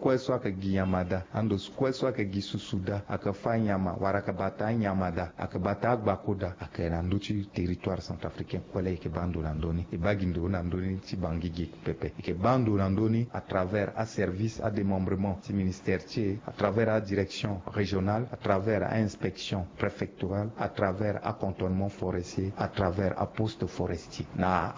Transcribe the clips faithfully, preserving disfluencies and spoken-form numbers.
kue so ayeke gi nyama daa, ando kue so ayeke gi susu daa, ayeke fâ nyama wala ayeke bata anyama daa, ayeke bata agbako daa, ayeke na ndö ti territoire centrafricain kue laa e yeke baa ndo na ndö ni. E baa gi ndo na ndö ni ti Bangui gi pepe. E yeke baa ndo na ndö ni à travers aservice adémembrement ti ministère ti e, à travers adirection régionale, à travers ainspection préfectorale, à travers acantonnement forestier, à travers aposte forestier, na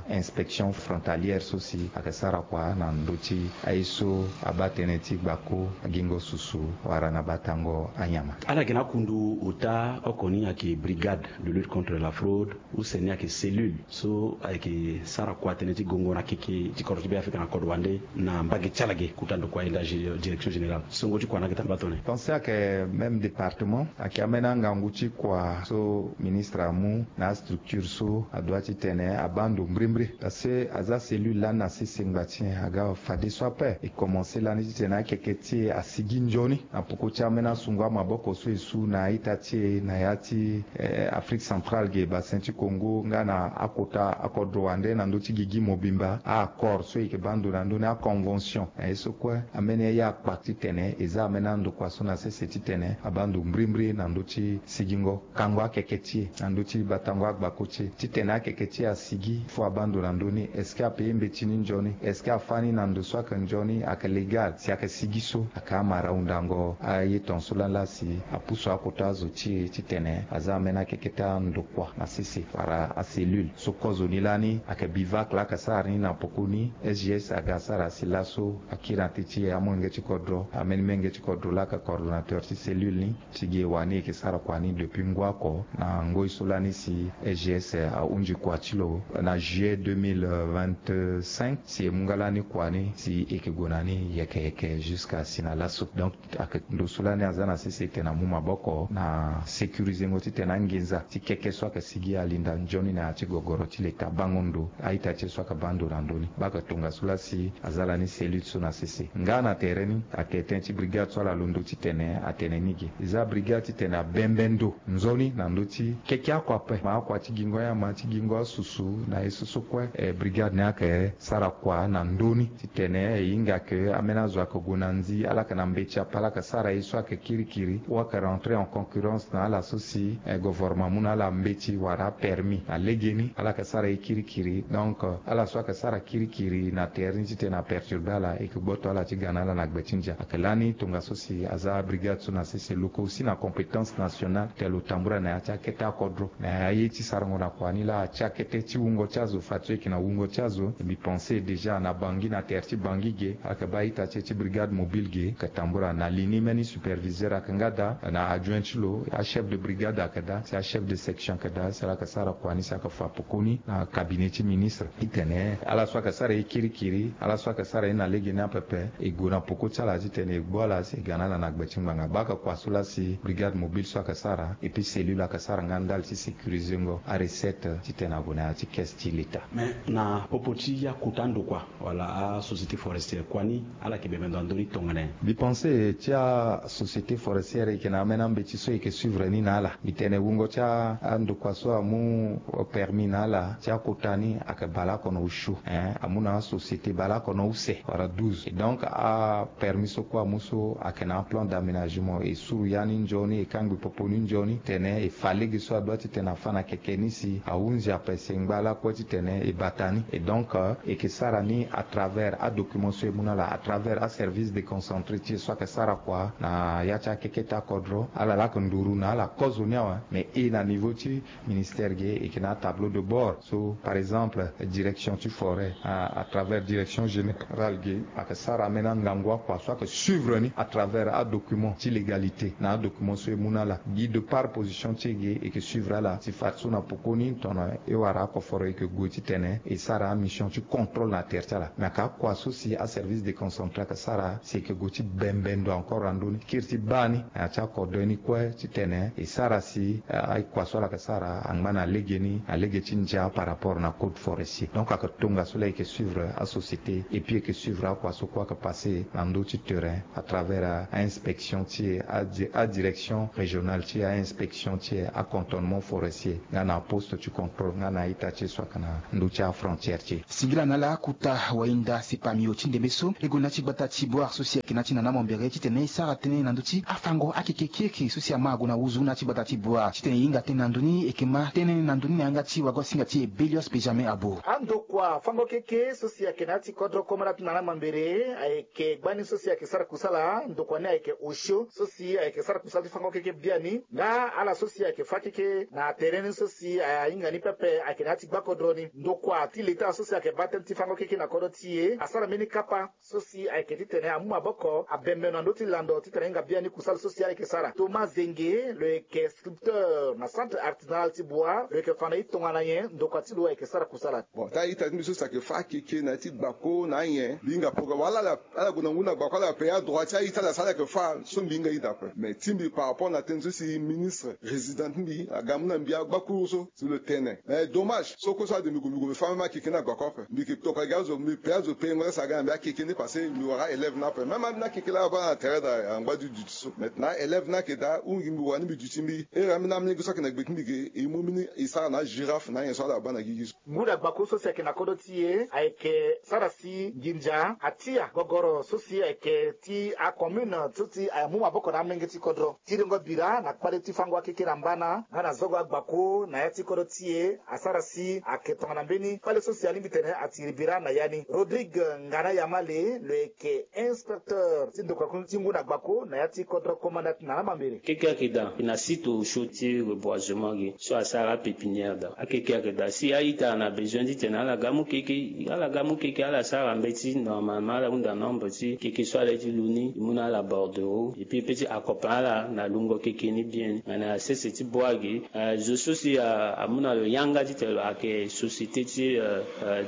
ainspection frontalière so si ayeke sara kua na ndö ti aye so abaa tënë ti gbako, agingo susu wala na batango anyama. Ala yeke na akundu ota oko ni ayeke brigade de lutte contre la fraude, use ni ayeke cellule so ayeke sara kua tënë ti gongo na keke ti kodro ti Beafrika na kodro wande na mbage ti ala ge. Kota ndokua aye nda gé- direction générale, songo ti kua ni ayeke tara baa tone? Pensé ayeke même département, ayeke ambeni angangu ti kua so ministre amu na astructure so adoit titene abaa ndo mbrimbri. Parce que aza cellule lani na sese ngba ti nyen aga fadeso ape. E commencé lani titene akeke ti e asigi nzoni na poko ti ambeni asungo amaboko so e su na a-ita ti e na ya ti eh, Afrique centrale ge, Bassin ti Congo, nga na akota akodro wande na ndö ti gigi mobimba, a-accord so e yeke baa ndo na ndö ni, aconvention na ye so kue. Ambeni aye akpa titene e za ambeni andokua so na sese titene abaa ndo mbrimbri na ndö ti sigingo kango akeke ti e na ndö ti batango agbako ti e, titene akeke ti e asigi. Fo abaa ndo na ndö ni, est-ce que apaye mbeti ni nzoni? Est-ce que afâ ni na ndo so ayeke nzoni, ayeke légal? Si ayeke sigi so, ayeke amara hundango aye tongaso lani laa si apusu akota azo ti e titene aza ambeni akeke ti andokua na sese wala acellule so. Kozoni lani ayeke BIVAC laa ayeke sara ni na pokoni. S G S aga sara si laso akiri na ti ti e amolenge ti kodro, ambeni menge ti kodro laa ayeke coordonnateur ti cellule ni. Ti gi e wani e yeke sara kua ni depuis ngu oko na ngoi so lani si S G S ahunzi kua ti lo na juillet deux mille vingt-cinq, si e mu nga lani kua ni si e yeke gue na ni yeke yeke jusqu'à si na laso. Donc ayeke ndo so lani aza na sese titene amu maboko na sécurisengo titene anginza ti keke so ayeke sigi alinda nzoni na ya ti gogoro ti leta bango ndo a-ita ti e so ayeke baa ndo na ndö ni. Baa ayeke tongaso laa si aza lani cellule so na sese. Nga na tere ni ayeke tënë ti brigade so ala londo titene atene ni ge. E za brigade titene abembe ndo nzoni na ndö ti keke akua ape, ma akua ti gingo anyama, ti gingo asusu na ye so so kue. Eh, brigade ni ayeke sara kua na ndö ni titene e hinga ke ambeni azo ayeke gue na nzi, ala yeke na mbeti ape, ala yeke sara ye so ayeke kirikiri, ou ayeke rentrer en concurrence na ala so si eh, gouvernement amu na ala mbeti wala apermis na legeni, ala yeke sara ye kirikiri. Donc ala so ayeke sara kirikiri na tere ni titene aperturbe ala, e yeke gboto ala ti ga na ala na gbe ti ndia. Ayeke lani tongaso si aza brigade so na sese lo yeke aussi na compétence nationale, titene lo tambula na ya ti akete akodro. Na aye ti sarango na kua ni laa, ti akete ti wungo ti azo, fadeso e yeke na wungo ti azo. Mbi pensé déjà na Bangui, na tere ti Bangui ge, ala yeke baa a-ita ti e ti brigade mobile ge, ayeke tambula na li ni. Mbeni superviseur ayeke nga daa, na adjoint ti lo, achef de brigade ayeke daa, si achef de section ayeke daa, si ala yeke sara kua ni, si ayeke fa pokoni na cabinet ti ministre. Titene ala so ayeke sara ye kirikiri, ala so ayeke sara ye na legeni apepe, e gue na poko ti ala titene e gbu ala si e ga na ala na gbe ti ngbanga. Baa ayeke kua so laa si brigade mobile so ayeke sara, et puis cellule ayeke sara nga ndali ti sécurisengo arecette titene ague na ya ti caisse ti leta. Mais na popo ti akota ndokua wala asociété forestière, kua ni ala yeke bembe ndo na ndö ni tongana nyen? Mbi pensé ti asociété forestière e yeke na ambeni ambeti so e yeke suivre ni na ala. Mbi tene wungo ti a- andokua so amu permis na ala ti akota ni ayeke bale oko na osio, hein, amu na asociété bale oko na use wala douze. Et donc apermis so kue amu so ayeke na aplan d'aménagement, e suru ya ni nzoni, e kangbi popo ni nzoni, tene e fa lege so adoit titene afa na keke ni si ahunzi ape, si e ngba lakue titene e bata ni. Et donc euh, e yeke sara ni à travers adocument so e mu na ala, à travers aservice déconcentré ti e so ayeke sara kua na ya ti akeke ti akodro. Ala laa ayeke nduru na ala kozoni awe, mais e na niveau ti ministère ge, e yeke na atableau de bord so, par exemple, direction ti forêt à, à travers direction générale ge, ayeke sara ambeni angangu akua so ayeke suivre ni à travers adocument ti légalité na adocument so e mu na ala. Gi de par position ti e ge, e yeke suivre ala si fadeso na pokoni tongana e wara akoforo, e yeke gue titene e sara amission ti contrôle na tere ti ala. Mais ayeke akua so si aservice déconcentré ayeke sara si e yeke gue ti bembe ndo encore na ndö ni, kiri ti baa ni na ya ti akodro ni kue titene e sara si eh, akua so ala yeke sara angba na legeni, na lege ti ndia par rapport na code forestier. Donc ayeke tongaso laa e yeke suivre asociété et puis e yeke suivre akua so kue ayeke passé na ndö ti terrain à travers a- ainspection ti e, adi- adirection régionale ti e, ainspection ti e, acantonnement forestier nga na aposte ti contrôle nga na a-ita ti e so ayeke na ndö ti afrontière ti e. Singila na ala akota wainda sepamio ti ndembe so e gue na ti gbata ti Bouar so si ayeke na ya ti Nana Mambéré titene e sara tënë na ndö ti afango akeke kiekiri so si ama ague na wuzu na ya ti gbata ti Bouar. Titene e hinga tënë na ndö ni, e yeke ma tënë na ndö ni na yanga ti wago-asinga ti e Bélios Benjamin Abo. Andokua fango keke so si ayeke na ya ti kodro Komanda ti Nana Mambéré ayeke gbani so si ayeke sara kusala. Ndokua ni ayeke osio so si ayeke sara kusala ti fango keke biani. Nga ala so si ayeke fa keke na tere ni so si ahinga ni pepe ayeke na ya ti gbakodro ni. Ndokua ti leta so si ayeke baa tënë ti fango keke na kodro ti e asara mbeni kapa so si ayeke titene amu maboko abembe na ndö ti lando titene ahinga biani kusala so si ayeke sara. Thomas Zenge lo yeke sculpteur na centre artisanal ti Bouar, lo yeke fa na e tongana nyen ndokua ti lo ayeke sara kusala. Bon, taa ita ti mbi so si ayeke fa akeke na ya ti gbako na anyen mbi hinga programme wala ala ala gue na ngu na gbako ala paya droit ti a-ita ala sara ala yeke fa so mbi hinga ita kue. Mais ti mbi par rapport na tënë so si ministre résident ti mbi aga amu na mbi agbakuru so si lo tene. Mais dommage so kue so ade mbi gue mbi gue mbi fa même akeke ni na gbako ape. Mbi yeke tokua gi azo mbi pe azo pengo la si aga na mbi akeke ni parce que mbi wara élève ni ape même ambeni akeke la abaa na tere daa angba duti duti so. Maintenant élève ni ayeke daa hunda gi mbi wara ni mbi duti mbi here ambeni amelenge so ayeke na gbe ti mbi ge e mu mbeni e sara na agirafe na anyen so ala baa na gigi so. Ngu na gbako so si ayeke na kodro ti e ayeke sara si nginza atia gogoro so si ayeke ti acommune so si amu maboko na amenge ti kodro. Tiringo bira na kpale ti fango akeke na mbana nga na zogo agbako na ya ti kodro ti e asara si ayeke tongana mbeni kpale so si alingbi tene atiri bira na ya ni. Rodrigue Ngana Yamale lo yeke inspecteur ti ndokua ti ngu na gbako na ya ti kodro Komanda ti Nana Mambéré. Keke ayeke daa na site osio ti reboisement ge so asara apépinière daa. Akeke ayeke daa si a-ita na besoin titene ala ga amu keke ala ga amu keke ala sara mbeti normalement ala hunda nombre ti keke so ala ye ti lu ni e mu na ala bordereau et puis e peut ti accompagner ala na lungo keke ni bien ni. Mais na sese ti Bouar ge zo so si amu na lo yanga titene lo ayeke société ti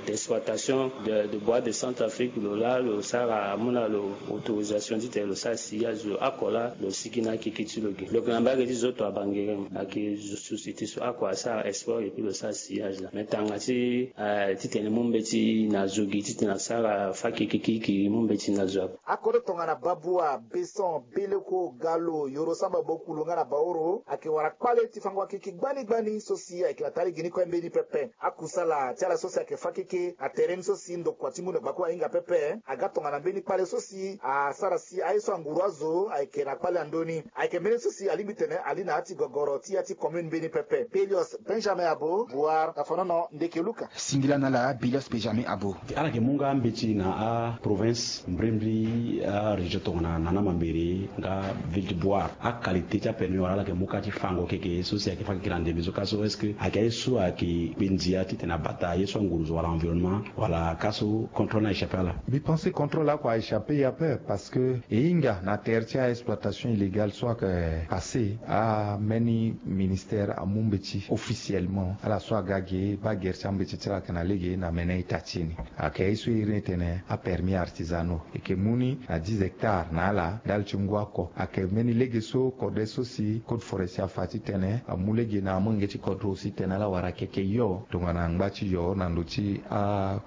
d'exploitation de bois de Centrafrique lo laa lo sara amu na lo autorisation titene lo sara sillage lo oko laa lo sigi na akeke ti lo ge. Lo yeke na mbage ti Zoto à Bangerem ayeke société so oko asara export et puis lo sara sillage laa. Mais tanga ti titene mu mbeti na zo ge titene asara fa keke kirikiri mu mbeti na zo ape. Akodro tongana Baboua, Besson, Beleko, Galo, Yoro Samba, Bokulu nga na Baoro ayeke wara kpale ti fango akeke gbani gbani so si ayeke na taa lege ni kue mbeni pepe. Akusala ti ala so si ayeke fa keke na tere ni so si ndokua ti ngu na gbako ahinga pepe aga tongana mbeni kpale so si asara si aye so anguru azo ayeke na kpale na ndö ni. Ayeke mbeni so si alingbi tene ali na ya ti gogoro ti ya ti commune mbeni pepe. Bélios Benjamin Abo, Bouar, Tafanono, Ndeke Luka. Singila na ala Bélios Benjamin Abo. Ala yeke mu nga mbeti na aprovince mbrimbri arégion tongana Nana Mambéré nga ville ti Bouar. Aqualité ti apermis wala ala yeke mu ka ti fango keke so si ayeke fa keke na ndembe so ka so est-ce que ayeke aye so ayeke kpe ndia titene abata aye so anguru zo wala environnement wala ka so contrôle ni a-échappé ala? Mbi pense contrôle oko a-échappé ye ape parce que e hinga na tere ti a-exploitation illégale so ayeke passé, ambeni ministère amu mbeti officiellement ala so aga ge baa gere ti ambeti ti ala ayeke na lege na mene ita ti e ni. Ayeke ye so e iri ni tene apermis artisanaux. E yeke mu ni na dix hectares na ala ndali ti ngu oko. Ayeke mbeni lege so kode so si code forestier afa titene amu lege na amolenge ti kodro si tene ala wara keke yo tongana ngba ti yo na ndö ti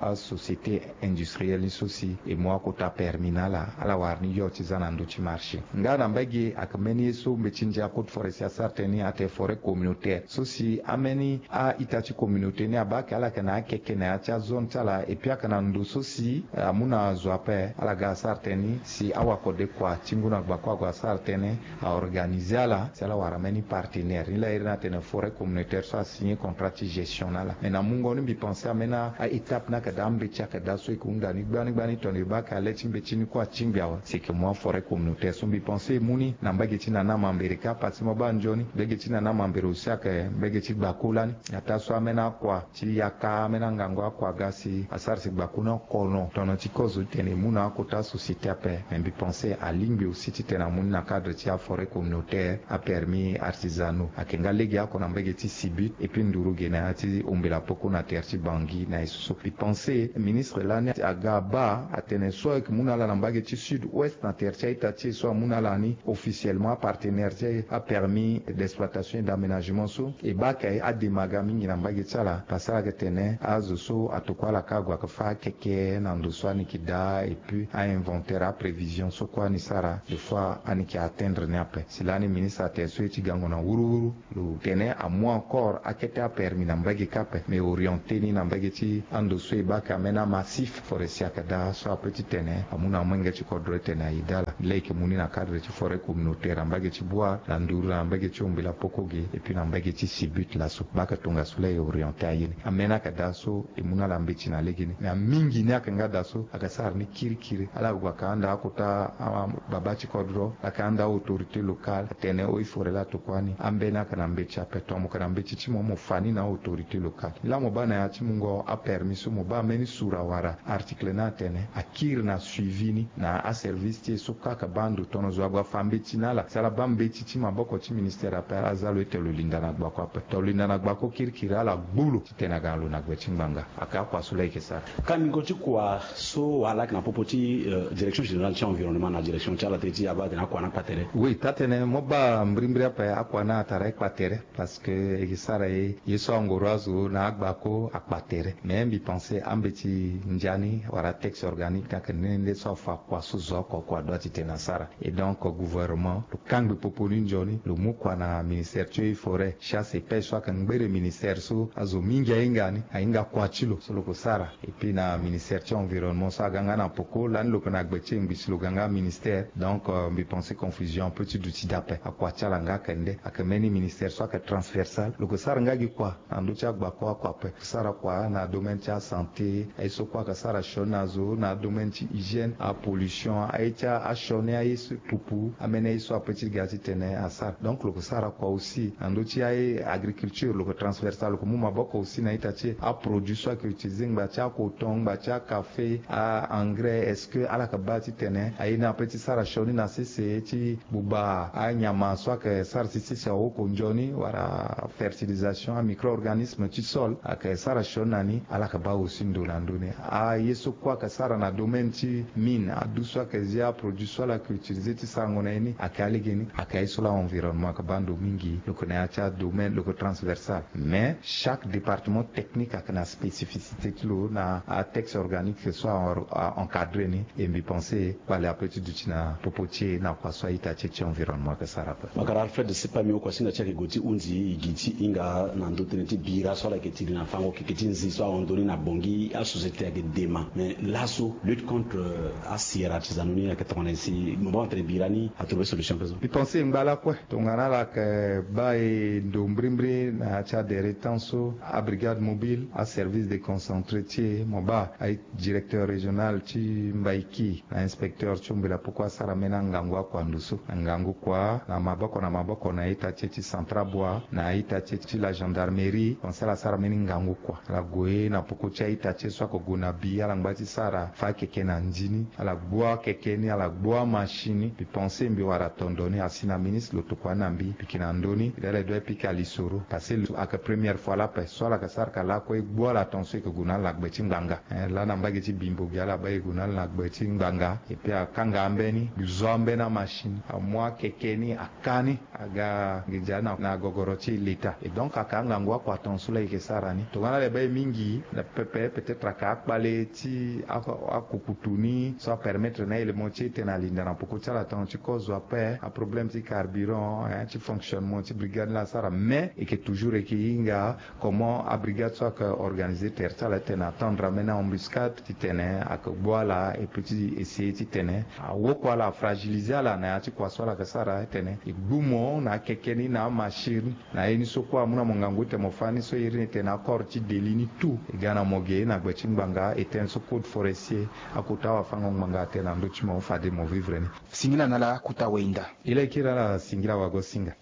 asociété industrielle ni so si e mu akota permis na ala ala wara ni yo ti za na ndö ti marché. Nga na mbage ayeke mbeni ye so mbeti ndia code forestier asara tënë ni atene forêt communautaire so si ambeni a-ita ti communauté ni abaa ayeke ala ayeke na akeke na ya ti azone ti ala et puis ayeke na ndo so si amu na azo ape ala ga asara tënë ni si awakode kua ti ngu na gbako ague asara tënë aorganiser ala si ala wara mbeni partenaire ni laa iri ni atene forêt communautaire so asigné contrat ti gestion na ala. Mais na mungo ni mbi pense ambeni a-étape ni ayeke daa mbeti ayeke daa so e yeke hunda ni gbani gbani tongana e baa ayeke ale ti mbeti ni kue atingbi awe si e yeke mu aforêt communautaire so mbi pense e mu ni na mbage ti Nana Mambéré kâ parce que mo baa nzoni mbage ti Nana Mambéré aussi ayeke mbage ti gbako lani. Ataa so ambeni akua ti yaka ambeni angangu akua aga si asara si gbako ni oko no tongana ti kozo titene e mu na akota société ape. Mais mbi pense alingbi aussi titene amu ni na cadre ti aforêt communautaire apermis artisanaux ayeke nga lege oko na mbage ti Sibut et puis nduru ge na ya ti ombela poko na tere ti Bangui na ye so so. Mbi pense ministre lani aga abaa atene so ayeke mu na ala na mbage ti sud ouest na tere ti a-ita ti e so amu na ala ni officiellement apartenaire ti apermis d'exploitation et d'aménagement so e baa ayeke adema aga mingi na mbage ti ala parce que ala yeke tene azo so atokua ala kâ ague ayeke fâ akeke na ndo so ani yeke daa et puis a-inventaire aprévision so kue ani sara des fois ani yeke atteindre ni ape. Si lani ministre atene so e ti gango na wuruwuru lo tene amu encore akete apermis na mbage kâ ape mais orienté ni na mbage ti ando so e baa ayeke ambeni amassif forestier ayeke daa so ape ti tene amu na amolenge ti kodro ti tene aye dala. Lege e mu ni na cadre ti forêt communautaire na mbage ti Bouar, na nduru na mbage ti Ombela Poko ge, et puis na mbage ti Sibut laso. Baka tongaso laa e orienté aye ni. Ambeni ayeke daa so e mu na ala mbeti na legeni. Mais amingi ni ayeke nga daa so ayeke sara ni kirikiri. Ala gue ayeke handa akota, ah, babâ ti kodro, ayeke handa autorité locale, atene o i forêt laa tokua ni. Ambeni ayeke na mbeti ape, tongana mo yeke na mbeti ti mo, mo fa ni na autorité locale. Laa mo baa na ya ti mungo apermis so mo baa mbeni sura wala article ni atene akiri na suivi ni na aservice ti e so kaka baa ndo tono zo ague afa mbeti na ala. Si ala baa mbeti ti maboko ti ministère ape, ala za lo ete lo linda na gbako ape. Tongana lo linda na gbako kirikiri, ala gbu lo titene aga na lo na gbe ti ngbanga. Ayeke akua so laa e yeke sara. Kandingo ti kua so wala ayeke na popo ti, euh, direction générale ti environnement na direction ti ala te ti abaa atene akua ni akpa tere. Oui, taa-tene mo baa mbirimbiri ape akua ni atara e kpa tere. Parce que e ke sara ye, ye so angoro azo na agbako akpa tere. Mais mbi pense ambeti ndia ni wala texte organique ni ayeke nde nde so afa kua so zo oko oko adoit titene asara. Et donc gouvernement lo kangbi popo ni nzoni, lo mu kua na ministère ti eaux et forêts, chasse et pêche so ayeke ngbere ministère so azo mingi ahinga ni, ahinga kua ti lo so lo ke sara. Et puis na ministère ti environnement so aga nga na poko, lani lo ke na gbe ti e ngbi si lo ga nga ministère. Donc, euh, mbi pense confusion ape ti duti dape. Akua ti ala nga ayeke nde, ayeke mbeni ministère so ayeke transversal. Lo ke sara nga gi kua na ndö ti agbako oko ape. Lo ke sara kua na domaine ti asanté, aye so kue ayeke sara sioni na zo na domaine ti hygiène, apollution, aye ti asioni aye so pupu, ambeni aye so ape ti ga titene asara. Donc lo ke sara kua aussi na ndö ti aye agriculture, lo ke transversal, lo ke mu maboko aussi na ita ti e. Aproduit so ayeke utiliser ngba ti acoton, ngba ti akafe, a-engrais, est-ce que ala yeke baa titene aye ni ape ti sara sioni na sese ti gbuba anyama so ayeke sara ti sese awoko nzoni, wala fertilisation, amicro-organisme ti sol ayeke sara sioni na ni, ala yeke baa aussi ndo na ndö ni. Aye so kue ayeke sara na domaine ti mine, adu so ayeke zia aproduit so ala yeke utiliser ti sarango na ye ni, ayeke alege ni, ayeke aye so laa environnement ayeke baa ndo mingi. Lo yeke na ya ti adomaine, lo yeke transversal. Mais chaque département technique ayeke na spécificité ti lo na atexte organique so a, a encadrer ni. E mbi pense kpale ape ti duti na popo ti e na kua so a-ita ti e ti environnement ayeke sara ape. Makara Alfred Sepamio, kuasinga ti e ayeke gue ti hunzi e gi ti hinga na ndö tënë ti bira so ala yeke tiri na fango keke ti nzi so ahon ndoni na Bangui, asociété ayeke dema. Mais laso lutte contre, euh, asier artisanaux ni ayeke tongana nyen si mo baa tene bira ni a trouver solution peso? Mbi pense ngba lakue. Tongana ala yeke baa e ndo mbirimbiri na ya ti adere temps so, abrigade mobile, aservice déconcentré ti e, mo baa aye directeur régional ti Mbaïki na inspecteur ti Ombela Poko asara mbeni angangu akua ndo so. Angangu kua na maboko na maboko na ita ti e ti Centrabois, na ita ti e ti la gendarmerie, pense ala sara mbeni ngangu kua. Ala gue na poko ti a-ita ti e so ayeke gue na bi, ala ngba ti sara fâ keke na ndi ni, ala gbu akeke ni, ala gbu amachine ni. Mbi pense mbi wara tondo ni asi na ministre, lo tokua ni na mbi, piki na ndö ni, e dala e doit e pika lisoro. Parce que lo ayeke première fois lape so ala yeke sara ka lakue e gbu ala ton so e yeke gue na ala na gbe ti ngbanga. Eh, laa na mbage ti Bimbo ge ala baa e gue na ala na gbe ti ngbanga. Et puis akanga ambeni, lo zo ambeni amachine, amu akeke ni, aka ni, aga nginza na, na gogoro ti leta. Et donc aka angangu akua ton so laa e yeke sara ni. Tongana ala baa e mingi na pepe, peut-être aka akpale ti a, akukutu ni so apermettre na élément ti e tene alinda na poko ti ala ton ti kozo ape. Aproblème ti carburant, hein, ti fonctionnement ti brigade ni laa asara. Mais e yeke toujours e yeke hinga comment abrigade so ayeke organiser tere ti ala titene atendre ambeni embuscade titene ayeke gbu ala, et puis ti essayer titene awoko ala, afragiliser ala na ya ti kua so ala yeke sara titene e gbu mo na akeke ni, na amachine ni, na ye ni so kue amu na mo ngangu titene mo fâ ni so e iri ni titene accord ti Delhi ni tout. E ga na mo ge na gbe ti ngbanga, e tene so code forestier, akota wafango-ngbanga atene na ndö ti mo, fade mo vivre ni. Singila na ala kota wenda. E laa e kiri ala singila wagosinga.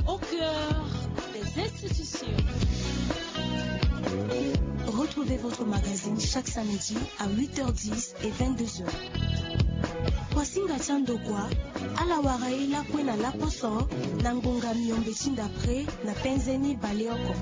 Au cœur des institutions. Retrouvez votre magazine chaque samedi à huit heures dix et vingt-deux heures. Kuasinga ti andokua, ala wara e lakue na laposo na ngonga miombe ti ndapre na penze ni baleoko.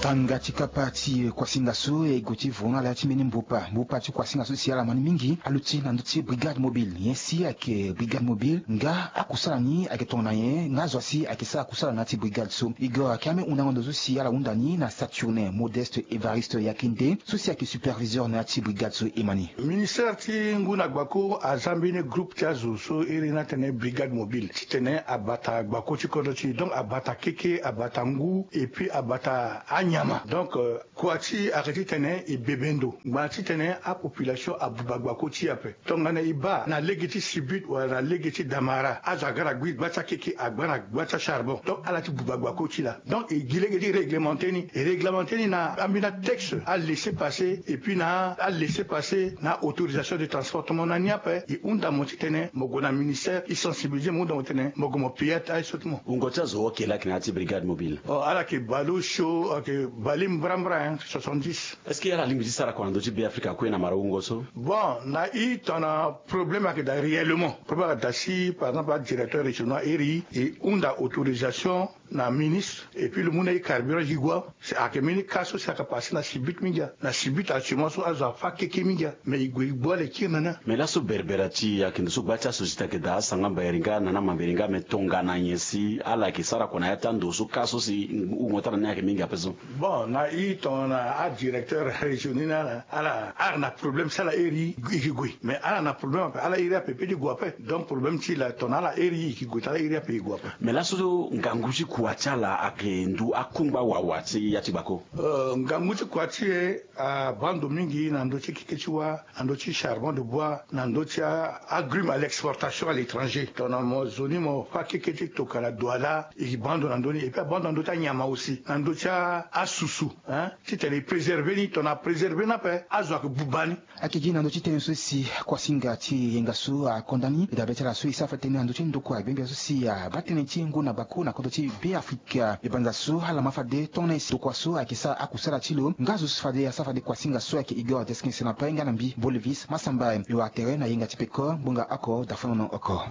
Tanga ti kapa ti kuasinga so e gue ti vo na ala ti mbeni mbupa. Mbupa ti kuasinga so si ala ma ni mingi aluti na ndö ti brigade mobile. Nyen si ayeke brigade mobile? Nga akusala ni ayeke tongana nyen? Nga azo asi ayeke sara kusala na ya ti brigade so? Igor ayeke ambeni hundango ndo so si ala hunda ni na Saturnin Modeste Évariste Yakinde so si ayeke superviseur na ya ti brigade so e ma ni. Ministère ti ngu na gbako aza mbeni groupe ti azo so iri ni atene brigade mobile titene abata gbako ti kodro ti e. Donc abata keke, abata ngu, et puis abata anyen. nyama. Donc kua ti ayeke titene e bebe ndo ngbanga titene apopulation abuba gbako ti e ape. Tongana e baa na lege ti sibit wala na lege ti damara azo aga na gui gba ti akeke agba na gba ti acharbon. Donc ala ti buba gbako ti laa. Donc e gi lege ti réglemente ni e réglemente ni na ambeni atexte alaisser passer et puis na alaisser passer na autorisation de transportement na ni ape. E hunda mo titene mo gue na ministère e sensibiliser mo hunda mo titene mo gue mo payer aye so ti mo. Wungo ti azo oke laki na ya ti brigade mobile. Ala yeke baleosio ok baleombrambra soixante-dix. Est-ce que ala lingbi ti sara kua na ndö ti be afrika kue na mara wungo so? Bon na i tongana problème ayeke daa réellement problème ayeke daa si par exemple adirecteur régional iri e hunda autorisation na ministre et puis lo mu na i carburant gi gua. Ayeke mbeni cas so si ayeke passe na sibit mingi ya na sibit actuellement so azo afa keke mingi ya. Mais e gue e gbu ala e kiri na ni. Mais laso berbera ti ayeke ndo so gba ti asociété ayeke daa asanga mbayeri nga na ni amamberi nga mais tongana nyen si ala yeke sara kua na ya ti ando so cas so si wungo ti ala ni ayeke mingi ape so? Bon na i tongana adirecteur régional ni na ala ala ala na problème si ala iri i ke gue mais ala na problème ape ala iri ape pe ti gue ape. Donc problème ti la tongana ala iri i ke gue te ala iri ape i gue ape. Mais laso ngangu ti kua ti ala ayeke ndu akungba wawa ti ya ti gbako? Ngangu ti kua ti e abaa ndo mingi na ndö ti keke ti wâ na ndö ti charbon de bois na ndö ti agrume à l'exportation à l'étranger tongana mo zo ni mo fâ keke ti tokala douala e baa ndo na ndö ni et puis abaa ndo na ndö ti anyama aussi na ndö ti asusu. Titene e préserver ni tongana apréserver ni ape azo ayeke buba ni. Ayeke gi na ndö ti tënë so si kuasinga ti yenga so akonda ni e dabe ti ala so e sara fade tënë na ndö ti ndokua gbengbe so si abaa tënë ti ngu na gbako na kodro ti be afrika. Ebanza so ala ma fade tongana e si ndokua so ayeke sara akusala ti lo nga zo so fade asara fade kuasinga so ayeke igor deskin sena pe nga na mbi bolivis masamba e wara tere na yenga ti peko ngbonga oko dafonono oko.